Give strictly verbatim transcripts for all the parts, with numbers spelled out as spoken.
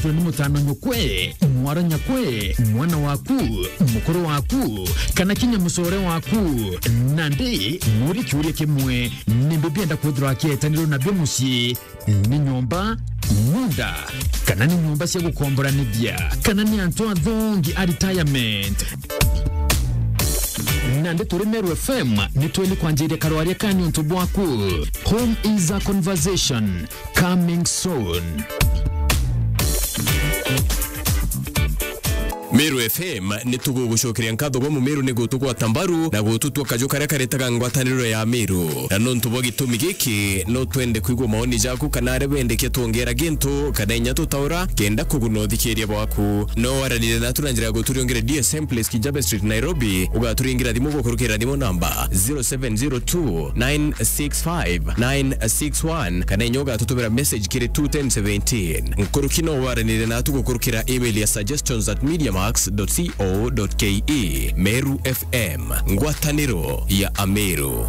Twe ni mutano nyukwe, mwara nyakwe, mwana waku, mukuru waku, kana kinya mucore waku. Nandi muri kiuria kimwe, nimbi bienda kwithirwa akietanirwo nabio mucii? Ni nyomba, munda, kana ni nyomba cia gukomboranithia, kana ni antu athongi a retirement? Nandi turi Meru F M, ni tweli kwanjiria karwaria ka niuntu bwaku. Home is a conversation. Coming soon. Meru F M ni tugugucokeria nkatho bwa Mumeru ni gutugwata mbaru na gututua kaju karia karetaga ngwataniro ya Meru. Na nontu bwa gitumi giki, no twende kwigua maoni jaku kana aria wendekia twongera gintu kana inya tutaura kenda kuguna uthikiria bwaku. No waranire natu na njira ya guturiongere D S M Place, Kijabe Street, Nairobi. Ugaturingira thimu gukurukira thimu namba zero seven zero two nine six five nine six one, kana inya ugatutumira message kiri two ten seventeen. Nkuruki no waranire natu gukurukira email ya suggestions at mediamax dot co dot ke. Meru F M, ngwataniro ya Ameru.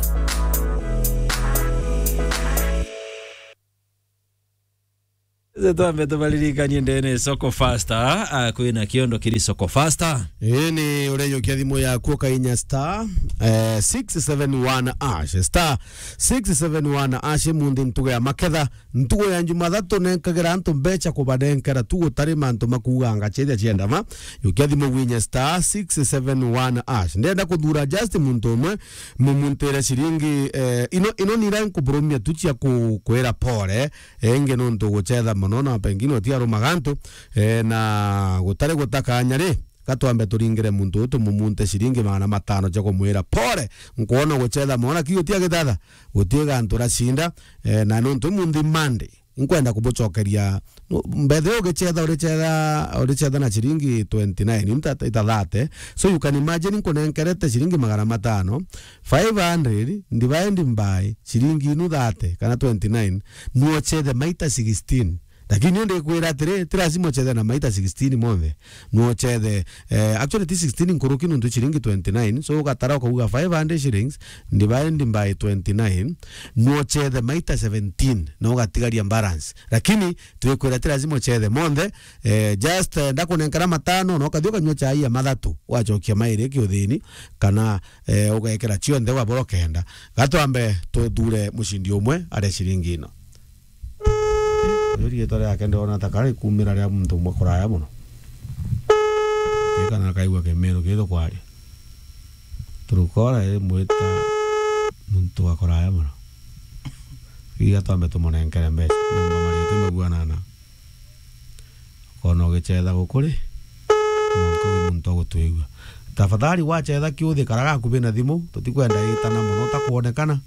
Ze twambe tubaririkanie ndene Soko Faster, ah, kwina kiondo kiri Soko Faster. Ii ni ureyokia thimu yaku ukainya star, eh, six seven one hash, star six seven one hash. Munthi ntugo ya maketha, ntugo ya Jumathatu nenkagira antu mbecha kubanenkera tu gutari mantu makuuganga chethia chienda ma. Yokia thimu winye star six seven one hash. Ndenda kuthura just muntu umwe, mumuntire ciringi, eh, ino, ino nira nkuburumia tu cia ku-, kwira pole, eh, ingi nontu guchetha mono na pengine utiarumaga antu, eh, na gutari gutakanya ri, gatwambe turingire muntu uyu tumumunte ciringi magana matano cia kumwira pole, nkwona guchetha mono, lakini utia gitatha, gutie gantu racinda, eh, na nontu munthi Monday, inkwenda kubucokeria, no, mbethe ugichetha, urichetha, urichetha na ciringi twenty nine, inta, ita thirty. So you can imagine, nkunenkerete ciringi magana matano, five hundred divided by ciringi inu thirty kana twenty nine, nuochethe maita sixteen. Lakini ndikwira atiri, ti lazima uchethe na maita sixteen monthe. Nuochethe, eh, actually ti sixteen nkuruki nontu ciringi twenty nine. So ugatara ukauga five hundred shillings divided by twenty nine, nuochethe maita seventeen na ugatigaria balance. Lakini twikwira ti lazima uchethe monthe, eh, just, eh, ndakunenkera matano na ukathi ukanyua chai ya mathatu, ugacokia mairi kiuthini, kana, eh, ugekira cionthe wabora ukenda. Gatwambe tuthure mucindi umwe aria ciringi ino. Uyu riitwa riake ndona ta kari kumira ria muntu umwe kuraya mono. Kii kana kaigua Kimiru kithu kwaria. Turukora iri mwita muntu wa kuraya mono. Iga twambe tumunenkere mbeca. Mumba maritu mabuanana. Ukona ugichetha gukuri, mwanka wi muntu agutwigua. Tafadhali wachetha kiuthi kara gakuvi na thimu, tutikwenda itana mono utakwonekana.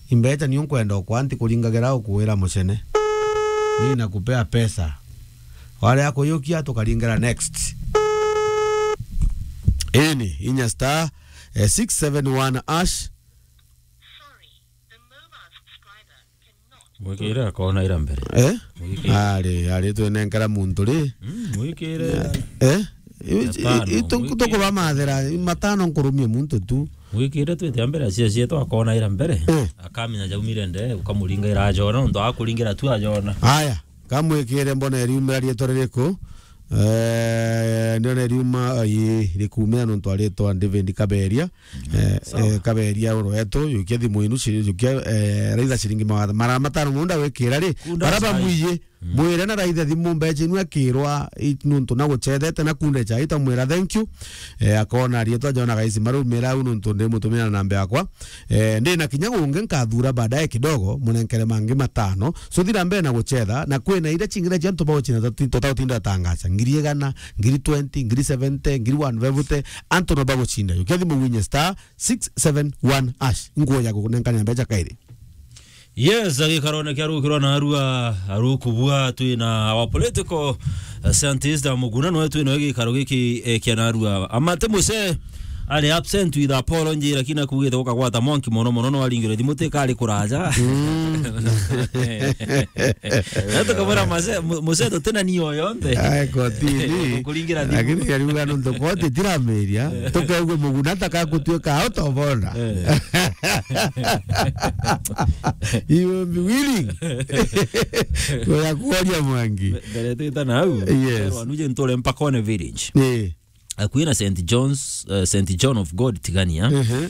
Imbecha nio nkwenda ukwa nti kuringagira ukuwira mucene. Ni nakupea pesa. Wale akuyukia tukaringira next. Ini, inya star, eh, six seven one hash. Mwikire akona ira mbere. Eh? Mwikire. Ari, ari twinenkera muntu ri? Mm, mwikire. Eh? Matano, itu mwikire. Tukubamathira, matano nkurumie muntu tu. Mwikire twite mbere cia cia twakona ira mbere. Eh. Akamenya jaumire nde, ukamuringa ira ajona, nontu akuringira tu ajona. Aya, kamwikire mbona iriumira rietwa ririku? Eh, ndiona iriuma, ii, rikumira nontu aritwa David Kaberia. Eh, sawa. Eh, Kaberia oro wetu, yukia thimu inu, ci-, yukia, eh, raitha ciringi magana, magana matano munda wikira ri, kunda bara chai. Bamwiye, mm, mwire na raitha thimu mbecha inu akirwa, i-, nuntu na guchethete na kunde chai, tamwira thank you. Eh, akona rietwa jona gaisi marumira au nuntu ndi mutumira na namba yakwa. Eh, ndi na kinya gungi nkathura baadaye kidogo, munenkere mangi matano. So thira mbere na guchetha, na kwina iria chingi cia antu baguchinda toti-, totautinda tangaca. Ngiri igana, ngiri twenty, ngiri seventy, ngiri one fifty, antu no baguchinda. Yukia thimu winye star six seven one hash. Nguo ya kunenkania mbecha kairi. Yes, agikarone kia rukirwa na arua, arukubua twina our political, uh, scientist Muguna, no twina gikaro giki, eh, kia narua. Amate Muse, Ari absent with apology, lakini akugite gukagwata mwanki mono mono, no aringire thimu tikari kuraja. Mm. Na tukamwira mase-, mu-, museto tena ni oyo nthe. Ai, kotini. Kuringira thimu. Lakini kariuga nontu koti tiramiria, tukaigue muguna taka gutuika out of order. Eh. You will be willing. Kuya kuoria mwangi. Mbere twita na au. Yes. Wanuje ntore mpaka one village. Eh. Akuina Saint John's, eh, Saint John of God Tigania. Mhm.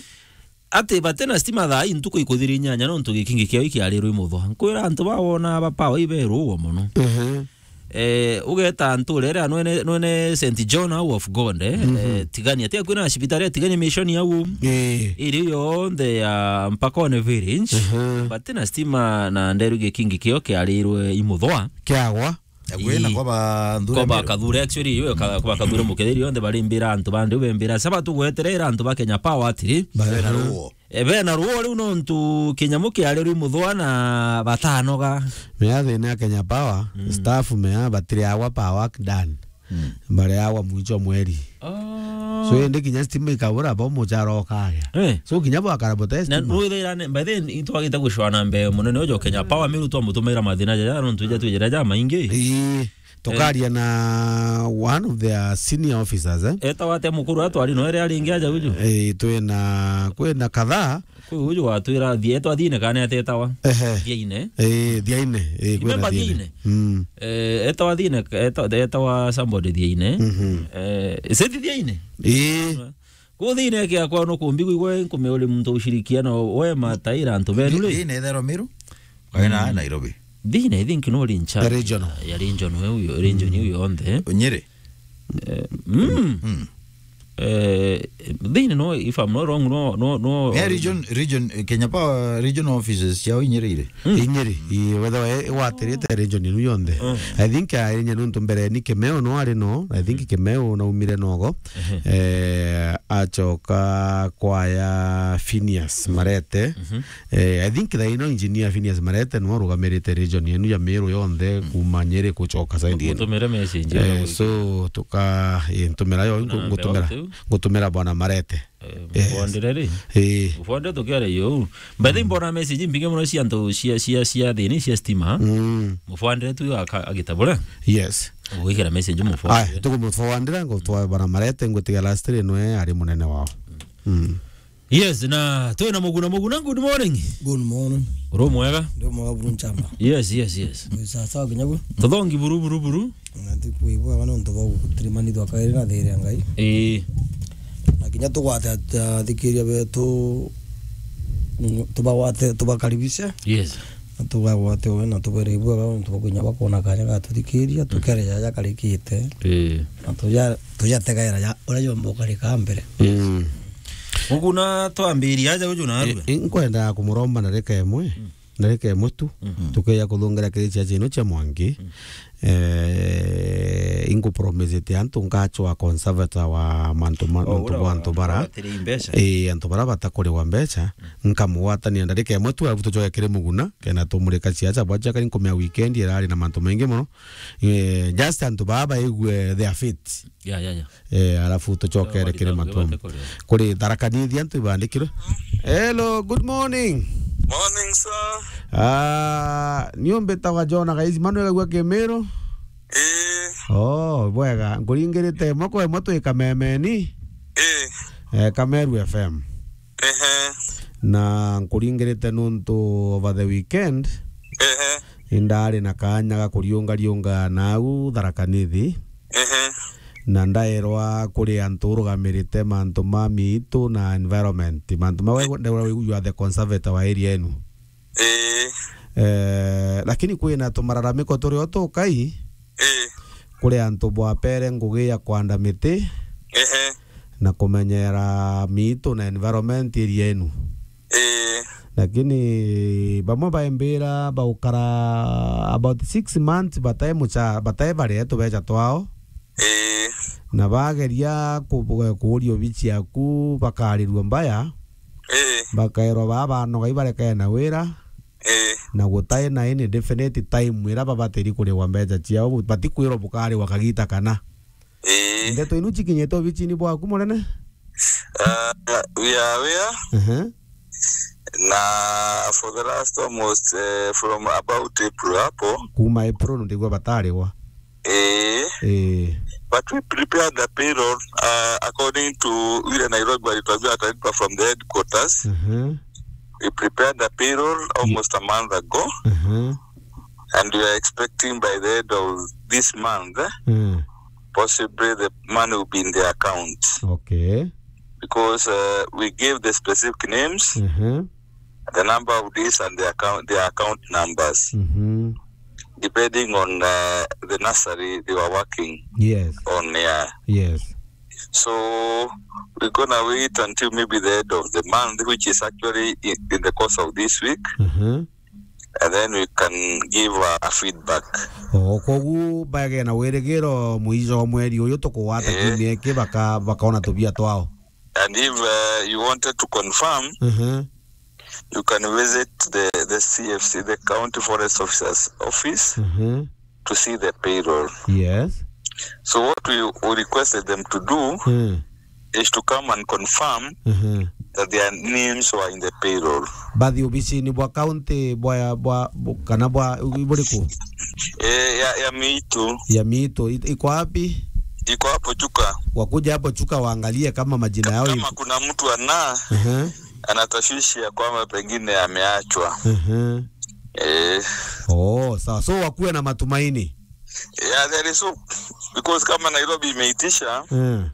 Ati bate na stima thaa ii ntuku ikuthiri inyanya nontu gikingi kiao ikiarirwe imuthwa. Nkwira antu bawona ba power iberugwa mono. Mhm. Eh, ugeta nture iria nwene, nwene Saint John au of God, eh, mhm, eh, Tigania. Ati akwina cibitari ya Tigania Mission au. Eh. Iri yonthe ya Mpakone Village. Mhm. Bate na stima na nderu gikingi kio kiarirwe imuthwa. Kiagwa. Agwena. Ii. Kwa ba nthure kwa ba Meru. Kathure, actually, iwe ka-, kwa ba Kathure Muketheri, yonthe barimbira antu bandi, bembira, "Saba tugweterera antu ba Kenya Power atiri." Bena ruo. E, bena ruo riu nontu kinyamu kiari riu muthwa na batanoga. Mea thina ya Kenya Power, mm, staff mea batiri agwa power work done. Mm. Bareagwa mwicho mweri. Ah. So, indi kinya stima ikabura, bo muchara ukagia. Eh. So, kinya bwakara bote na stima. Nwithira ne, by then, itwagite gucwana mbee munene ujo Kenya Power, Meru twamutumaira mathina jaja, nontu ija twijira ja maingi. Ii, tukaria na one of their senior officers, eh? Etawa ate mukuru atwari no ere aringi aja uju? Ii, twina, kwina kadhaa. Kwi uju watwira thie, etwa Thiine kana atetawa? Ehe. Thiaine. Eh, Thiaine. Eh, kwina remember Thiaine? Thiaine? Mm. Eh, etawa Thiaine, eta-, etawa somebody Thiaine. Mhm. Eh, ise ti Thiaine? Eh. Ku Thiaine kiakwa no kumbi kuigwe nkume uri muntu ushirikiana we mataira antu benu ri? Thiaine ethero Meru? Kana, mm, Nairobi? Thiaine, I think, no ri in charge. The regional. Ya region we uyo, region, mm, uyo onthe. Nyeri? Eh, mm. Mm. Eh, Thiaine no, if I'm not wrong, no, no, no. Yeah, region, region, eh, Kenya Power regional offices ciao inyirire. Mm. Inyiri, i, whether we, igwatirite region inu yonthe. Mm. I think, ah, inya nuntu mbere ni Kimeo no ari no, I think, mm, Kimeo naumire nogo. Mhm. Eh, acoka kwaya Phineas Marete. Mhm. Eh, I think thaa ino engineer Phineas Marete nwe urugamirite region yenu ya Meru yonthe, mm, kuma Nyeri kuchoka side yenu. Mutumire message, eh, so tuka, eh, ntumira yo, ngu-, ngutumira, ngutumira bwana Marete. Eh, yes. Mufondire ri? Eh. Mufondire tukiaria yo. By the way, mbona message mbingi muno cia antu cia, cia, cia thini cia stima. Mm. Mufondire tu aka-, agitabura. Yes. Gwikira message mufondire. Aya, tukumufondira, ngutwa bwana Marete, ngutiga last ri nwe ari munene wao. Mm. Yes, na twina Muguna. Muguna, good morning. Good morning. Uri mwega? Ndi mwega buru nchamba. Yes, yes, yes. Wi sawa sawa kinya buru? Tuthongi buru, buru, buru. Na ti kwibwa bana ntu bau turimanithwa kairi na thiri ya Ngai. Ii. Na kinya tugwate at-, athikiria betu, mm, tubagwate, tubakaribishe. Yes. Na tubagwate we na tubere ibwa bana ntu bakunya bakona kanya ga tuthikiria, mm, tukere jaja karikite. Ii. Na tuja, tujategaira ja, uria jomba ukarika mbere. Mm. Muguna twambiria aja uju narua. I, i, nkwenda kumuromba ndarika imwe. Mm. Ndarika imwe tu. Mm. Tukeja kuthungira kiri ciaca ino cia Mwangi. Mm. Eh, inkupromisite antu nkachwa conservator wa mantu ma, oh, mantu uria bwa wa, antu bara. Wabatiri mbeca. Eh, antu bara batakuriwa mbeca. Mm. Nkamugwatania ndarika imwe tu, alafu tucoke kiri Muguna, kena tumurika ciaca bwa ciakari nkumea weekend irari na mantu maingi muno. Eh, just antu baa baigue their fate. Ya, ya, ya. Eh, alafu tucokere kiri Matumba. Kuri Tharaka Nithi antu ibandikirwe. Hello, good morning. Morning, sir. Ah, ni umbitawa Jona Gaizi, manu egagua Kimiru? Eh. Oh, bwega. Nkuringirite imwe kwa imwe twi Kamemeni. Eh. Eh, Kameru F M. Ehe. Na nkuringirite nuntu over the weekend, ehe, indari na kanya ga kuriunga riunga nau Tharaka Nithi. Ehe. Na ndaerwa kuri antu urugamirite mantu ma miitu na environment. Mantu mau, eh, ndaerwa you are the conservator wa area enu. Ii. Eh, lakini kwina tumararamiko turi o tukai, ii, kuri antu bwapere ngugi ya kwanda miti, ehe, na kumenyera miitu na environment area enu. Ii. Lakini bamwe baimbira baukara about six months batai mucha-, batai baria tubecha twao. Ii. Na bageria ku-, kuuria obichi yaku, bakarirua mbaya. Ii. Bakairwa baa banoga ibarekae na wira. Ii. Na gutai na any definite time ira babatiri kurigwa mbecha ciao, bu-, batikwirwa bukariwa kagita kana. Ii. Ndeto inu cikinyite obichini bwaku munene? Uh, we are aware. Uh-huh. Na for the last almost, uh, from about April hapo. Kuma April ndigwa batarigwa. Eh. Eh. But we prepared the payroll, uh, according to vile Nairobi walituambia watalipa from the headquarters. Uh-huh. We prepared the payroll almost a month ago. Uh-huh. And we are expecting by the end of this month, eh, Mm. possibly the money will be in their accounts. Okay. Because, uh, we gave the specific names, Mm-hmm. the number of days and the account, their account numbers, Mm-hmm. depending on, uh, the nursery they were working Yes. on. Yeah. Yes. So we're gonna wait until maybe the end of the month, which is actually in, in the course of this week. Mm-hmm. And then we can give a, a feedback. O, kogu bagena wirigiro mwico wa mweri uyu tukugwata Eh. kiumia iki baka-, bakona tubia twao. And if, uh, you wanted to confirm, Mhm. you can visit the, the C F C, the County Forest Officer's office, Mhm. to see the payroll. Yes. So what we, we requested them to do Mm. is to come and confirm Mhm. that their names were in the payroll. Bathi obisini bwa county bwa, bwa, bu-, kana bwa, buriku? Eh, ya, ya Miitu. Ya Miitu. It-, iko wapi? Iko hapo Chuka. Wakuja hapo Chuka waangalie kama majina yao Kama iko. Kuna mtu ana, Mhm. ana tashwishi ya kwamba pengine ameachwa. Mhm. Eh. Oh, sawa. So wakuwe na matumaini. Yeah, there is hope. Because kama Nairobi imeitisha, Mm.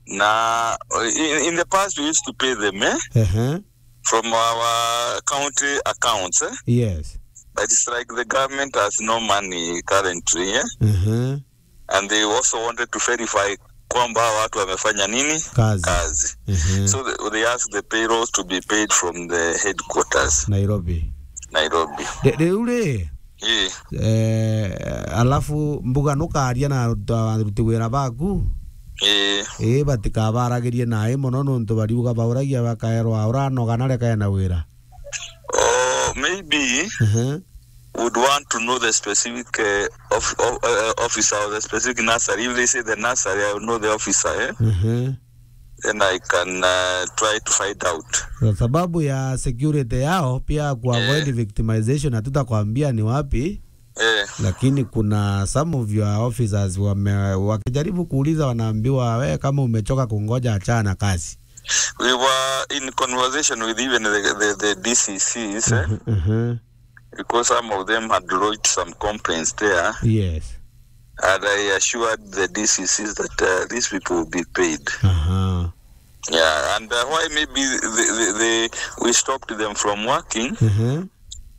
na, in, in the past we used to pay them, eh? Ehe. From our county accounts, eh? Yes. But it's like the government has no money currently, eh? Mhm. And they also wanted to verify kwamba hawa watu wamefanya nini? Kazi. Kazi. Mhm. So they, they asked the payrolls to be paid from the headquarters. Nairobi. Nairobi. Ri-, riu ri, Ii. Eh, alafu mbuga nukaria na aruta-, aruti wira baku? Ii. Ii, batikabaragirie nae mono nontu bariuga bauragia bakaerwa uranoga na reka ena wira. Oh, maybe Mhm. would want to know the specific, eh, of, of, eh, officer or the specific nursery. If they say the nursery, I will know the officer, eh? Mhm. Then I can, uh, try to find out. Kwa sababu ya security yao, pia ku avoid Eh. victimization, hatutakwambia ni wapi, Eh. lakini kuna some of your officers wame-, wakijaribu kuuliza wanaambiwa, "We kama umechoka kungoja, achana na kazi." We were in conversation with even the, the, the D C Cs, eh? Mhm, mhm. Because some of them had lodged some complaints there. Yes. And I assured the D C Cs that, uh, these people will be paid. Aha. Yeah, and, uh, why maybe the, the, the, we stopped them from working Mhm.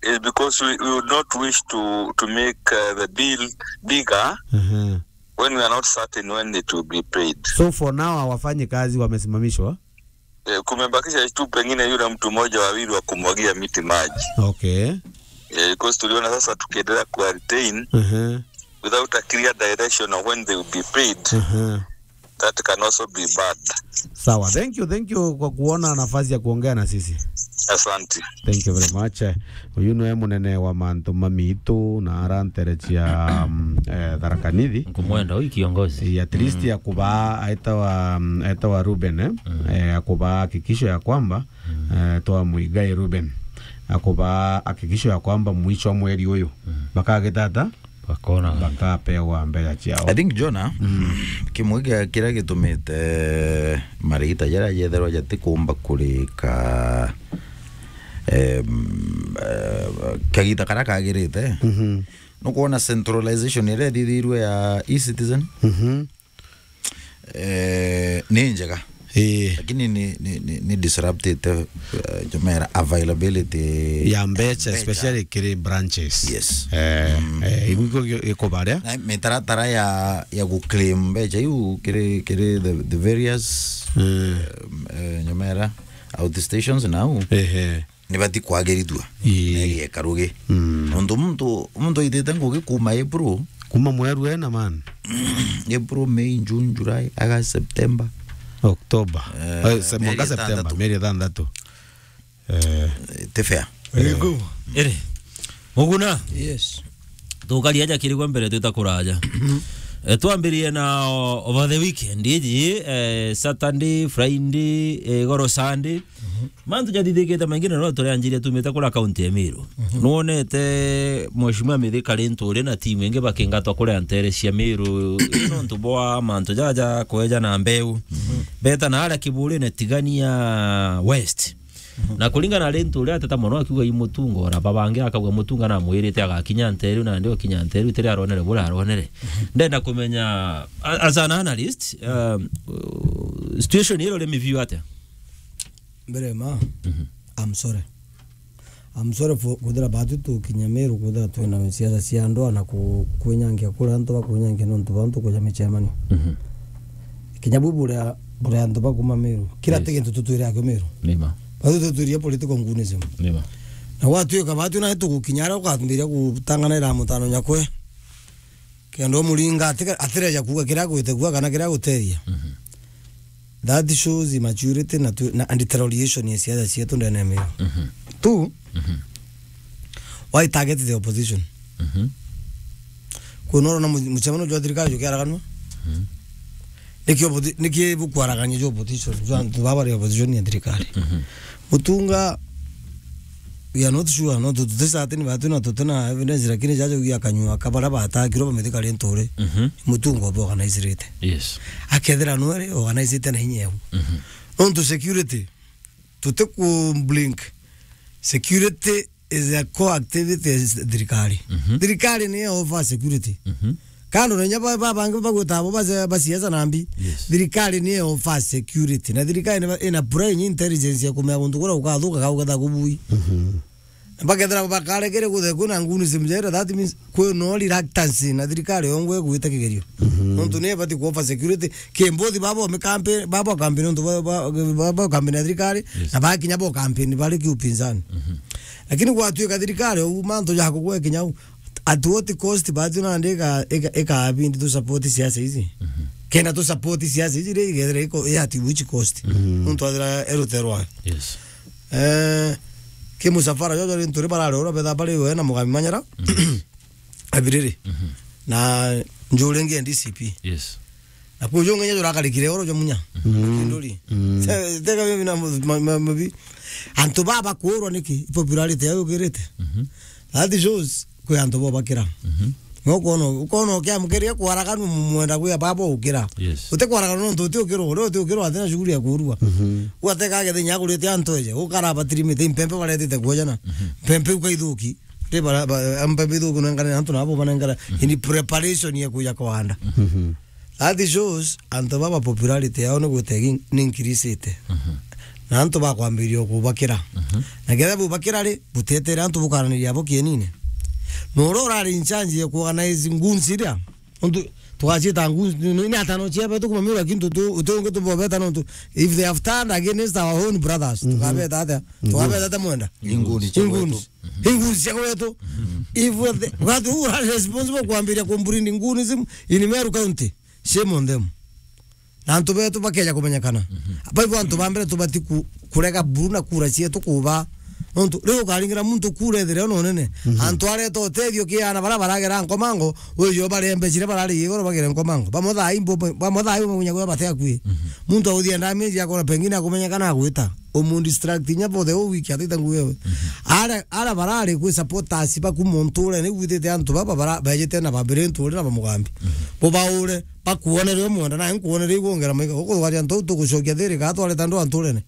is because we, we would not wish to, to make, uh, the bill bigger Mhm. when we are not certain when it will be paid. So for now, hawafanyi kazi, wamesimamishwa? Eh, kumebakisha tu pengine yule mtu mmoja wawili wa kumwagia miti maji. Okay. Eh, because tuliona sasa tukiendelea kuwa retain Mhm. without a clear direction of when they will be paid, Mhm. that can also be bad. Sawa. Thank you, thank you kwa kuona nafasi ya kuongea na sisi. Asante. Thank you very much. Eh, uyu niwe munene wa mantu ma miitu na ara ntere cia, um, eh, Tharaka Nithi. Nkumwenda huyu kiongozi. Eh, at least Mm. akubaa, aetawa, um, aetawa Ruben, eh? Mm. Eh, akubaa hakikisho ya kwamba, Mm. eh, twa Muigai Ruben. Akubaa hakikisho ya kwamba mwisho wa mweri uyu, Mm. bakagitata? Bakona. Bakapewa mbeca ciao. I think, Jonah, Mm. kimwe kia kiria gitumite marigita jaria jetherwa jatikumba kurika, em, eh, kagita karia kagirite. Mhm. Nukwona centralization iria ithithirwe ya e-citizen? Mhm. Eh, ni njega. Ii. Lakini ni, ni, ni, ni disruptite, eh, jumera availability Ya mbeca, mbeca. Especially kiri branches. Yes. Eh, Mm. eh, igu iko gi-, iko baria? Na mitaratara ya, ya guclaim mbeca iu kiri, kiri the, the various, Mm. eh, eh, jumera outstations nau. Ehe. Nibati kwagirithua. Ii. Na igeka rugi. Mm. Nontu muntu, muntu aitite ngugi kuma April. Kuma mweru ena, man. April, May, June, July, August, September. October. Eh, Eh, se-, mieri mwaka September, itantatu. Mieri itantatu. Eh. Ti fair. Very good. Iri. Muguna? Yes. Tukaria aja kirigwa mbere twita kuraja. Eh, twambirie na o-, over the weekend, iji, eh, Saturday, Friday, eh, goro Sunday. Mhm. Mantu jathithikite maingi na no turianjiria tumite kura kaunti ya Meru. Mhm. Nwonete Mheshimiwa Mithika Linturi na timu ingi bakingatwa kuria ntere cia Meru, nontu bwa mantu jaja kweja na mbeu. Mhm. Beta na aria Kiburine Tigania West. Mhm. Na kuringana na Linturi ateta mono akiuga i Mutunga, ora babangi akauga Mutunga namwirite agakinya nteru, na ndio kinya nteru tiri aronere bura aronere. Mhm. Ndenda kumenya, a-, as an analyst, um, uh, situation iro ri miview atia? Mbere ma, Mhm. I'm sorry. I'm sorry for kwithira batu tukinya Meru kwithira twina siasa cia ndwaa na ku-, kwinyangia kuria antu bakwinyangia nontu bantu kuja micemanio. Mhm. Kinya bu buria, buria antu bakuma Meru. Kira Yes. ti gintu tutwire akio Meru. Nima. Batu tutwirie political ngunism. Nima. Na gwatuika batu na tugukinya aria ukambiria gutanganaira mutano nyakwe. Kenda umuringa atika-, atireja kuuga kiria agwite kuuga kana kiria aguteria. Mhm. That shows immaturity na tu-, na, and deterioration ya siasa cietu ndene ya Meru. Mhm. Tu, Mhm. why target the opposition? Mhm. Kwina urona mu-, mucemanio jwa thirikari jukiaraganwa? Mhm. Niki opposi-, niki bukwaragania jwa opposition? Jwa antu baba bari opposition ya thirikari. Mhm. Mutunga, we are not sure, no, tu-, tuti certain, batu na tuti na evidence, lakini jaja ugia kanyua ka baria batakirwe ba Mithika Linturi, Mhm. Mutunga obe organizirite. Yes. Akethira nwere organizite na inya eu. Mhm. Nontu security, tuti ku blink. Security is a core activity ya thirikari. Mhm. Thirikari ni offer security. Mhm. Kando na inya ba, ba, bangi bagwita abo ba, ba siasa na mbi. Yes. Thirikari ni offer security. Na thirikari ina, ina prime intelligence ya kumenya guntu kuria gukathuka ka gugetha kubui. Mhm. Na bakethira bakarekere guthe kwina nguni simjera, that means kwina reluctance na thirikari yongwe gwita kigerio. Mhm. Nontu ni bati ku offer security. Kimbothi babo me campaign, babo campaign nontu ba, ba, ba, ba campaign ya thirikari, Yes. na bakinya bo campaign bari ki upinzani. Mhm. Lakini gwatuika thirikari, u mantu ja kugwe kinya u, at what cost, batu nandi ika, ika, ika bindi tu support siasa ici. Mhm. Kenda tu support siasa ici ri, igethira iko, at which cost? Mhm. Nontu athira eruterwa. Yes. Eh, ki musafara jojo ri nturi barare ura betha bari we na Mugami Manyara. Mhm. Abiriri. Mhm. Na njuri ingi ya D C P. Yes. Na kuu jungi nya jurakarikire oro jwa munya. Mhm. Kinduri. Mhm. Te-, tega bibi na mu-, ma-, ma-, mabi. Antu baba kuurwa niki? Popularity yao yukirite. Mhm. That shows kwi antu bo bakira. Mhm. No ukono, ukono ukiamukiria kwaraganu mwenda gwi baba ukira. Yes. Uti kwaraganu nontu uti ukirwa, uti ukirwa atina shughuli ya kurua. Mhm. Gwateka agethe nya kurite antu eje, ukara batirimite impempe baretite kuojana. Mhm. Mpempe ukaithuki. Ri bara, ba, mpempe ithuki nengane antu nabo banengana. Mhm. In preparation ya kuja kwanda. Mhm. That shows antu baba popularity yao ni gwite gi-, ni increasite. Mhm. Na antu bakwambiria kubakira. Mhm. Na ketha bubakira ri, butetere antu bukaraniria abo kienine. Na uria urari in charge ya kuorganize goons iria, untu tugaciita goons, ni, ni atano cia betu kuma Meru, lakini tu, tu, uti ungi tubobeta nontu if they have turned against our own brothers, Mhm. tukabeta atia? Mhm. Tukabeta atia mwenda? Ni nguni cia Ni nguni. Inguni cia gwetu. If we the, what, who are responsible kwambiria kumbreed ngunism in Meru County? Shame on them. Na antu betu bakeja kumenyekana. Mhm. Baibo antu ba mbere tubati ku-, kurega buru na kura cietu kuba. Nontu riu ukaringira muntu kura ethire no nene. Mhm. Antu areta utethio kiana bara baragera nkomango, uyo barembe cire barari igoro bagere nkomango. Bamwe thaa imbo, bamwe thaa imbo munya gwa bate akui. Mhm. Muntu authia ndamage akora pengine akumenyekana agwita. Umu distract inya for the whole week, atite ngugi ewe. Mhm. Ara, ara barari kwi supporters baku muntu ure ni gwithite antu baba bara, bejete na babire ntu ure na bamugambi. Mhm. Bo baure, bakuonere umwenda, na nkuonere igwongera maiga. Ukugwaria ntu tugucokia thiri, ka twareta ndu anturene.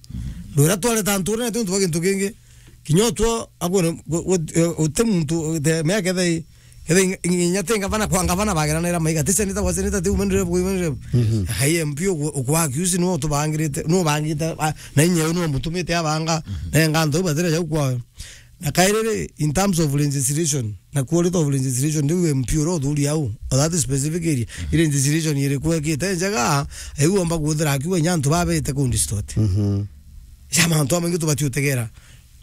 Ndwira twareta anturene, ti untu bwa gintu kingi. Kinya utwo, akwone, gu-, gu-, eh, uti muntu, the, mea kethe, kethe inya ti ngavana kwa ngavana bageranaira maiga. Ti seneta kwa seneta, ti women rep kwa women rep. Mhm. Hai M P ugu-, ukwa accuse no tubangirite, no bangite, a, na inya no mutumite abanga, Mhm. na nganto batire jau kwa. Na kairiri, in terms of legislation, na quality of legislation, riu M P uria uthuri au, or that specific area, Mhm. iri legislation iriku ekite njega, iu omba kwithira akiuga inya antu babete ku distort. Mhm. Ja mantu amaingi tubati utegera.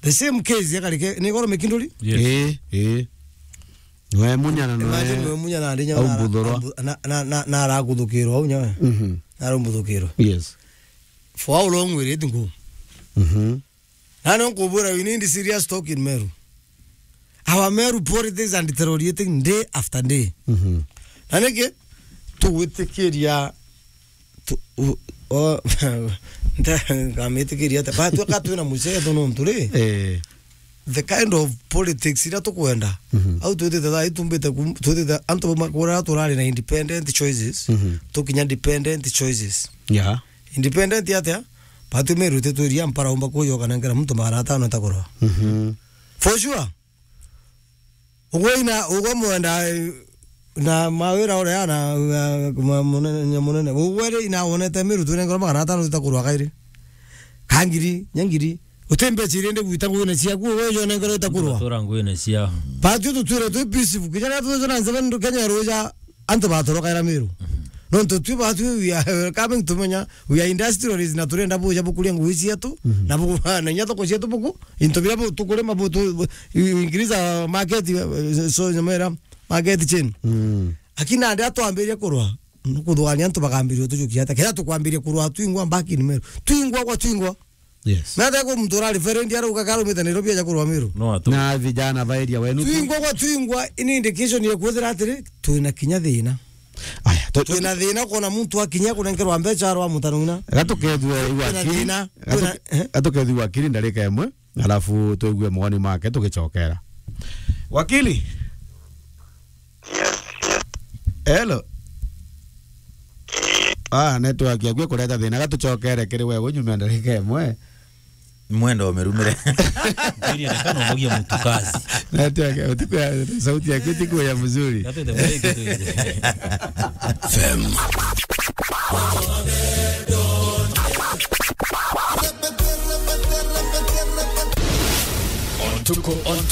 The same case ya Karike, ni goro Mikinduri? Yes. Ii, ii. Nwe munya na nwe Imagine nwe munya na ndinya au na, mbuthurwa. Na, na, na, na arakuthukirwa au nyawe. Mhm. Na arambuthukirwa. Yes. For how long will it go? Mhm. Na no nkubwira, we need serious talk in Meru. Our Meru politics are deteriorating day after day. Mhm. Na niki? tugwitikiria tu-, u-, o-, nta-, ngamitikiria atia? Ba, tuka twina mucetho nontu ri, Eh. the kind of politics iria tukwenda. Mhm. Au twitite thaa ii tumbite kum-, twitite antu bamwe kuria turari na independent choices, Mhm. tukinya dependent choices. Yeah. Independent atia? Batu Meru titwiria mpara umba kuyoka nengera muntu magana atano itakurwa. Mhm. For sure. Ugwe ina, ugwe mwenda, eh, na mawira uria na, na, ma-, munene, nya munene. Ugwe ri ina wonete Meru twinengerwa magana atano tutakurwa kairi. Ka ngiri, nya ngiri. Uti mbeca iria ndi gwita nguine ciaku, ugwe jo nengerwa itakurwa. Tura nguine cia. Batu tutwire twi peaceful. Kinya riria twithwe na seven Kenya ruja, antu batorokaira Meru. Mhm. Nontu twi batu we are welcoming tumenya, we are industrialists na turenda buja bukuria ngugi cietu, Mhm. na buku-, na inya thoko cietu buku, into biria bu-, tukurima bu-, tu-, bu-, you increase our market, uh, so nyamera, market chain. Mm. Lakini nandi atwambiria kurwa, nukuthugania antu bakambiria utujukia ata. Kenda tukwambiria kurwa twingwa back in Meru. Twingwa kwa twingwa. Yes. Na hata kwa mtu urari referendi arauga karumite Nairobi aja kurwa Meru. No atu. Na vijana ba area wenu. Twingwa kwa twingwa, ini indication ya kwithira atiri, twina kinya thina. Aya, tu-, tu-, twina thina kuona muntu akinya kunenkerwa mbeca arwa mutanuna. Gatukethue igwa Twina akili. Thina. Gatuke-, Twina, eh? Gatukethue igwa akili ndarika imwe, alafu tuigue mawoni make tugicokera. Wakili? Hello. Ah, network yaku ikureta thina, gatucokere kiri wewe nyuma ya ndarika imwe. Mwenda umirumire. Kwiri ndakana umogia mutu kazi. Network, utiku ya, sauti yaku itiku ya mzuri. Gatwite mwiki tu. F M. Ontuko, ontuko.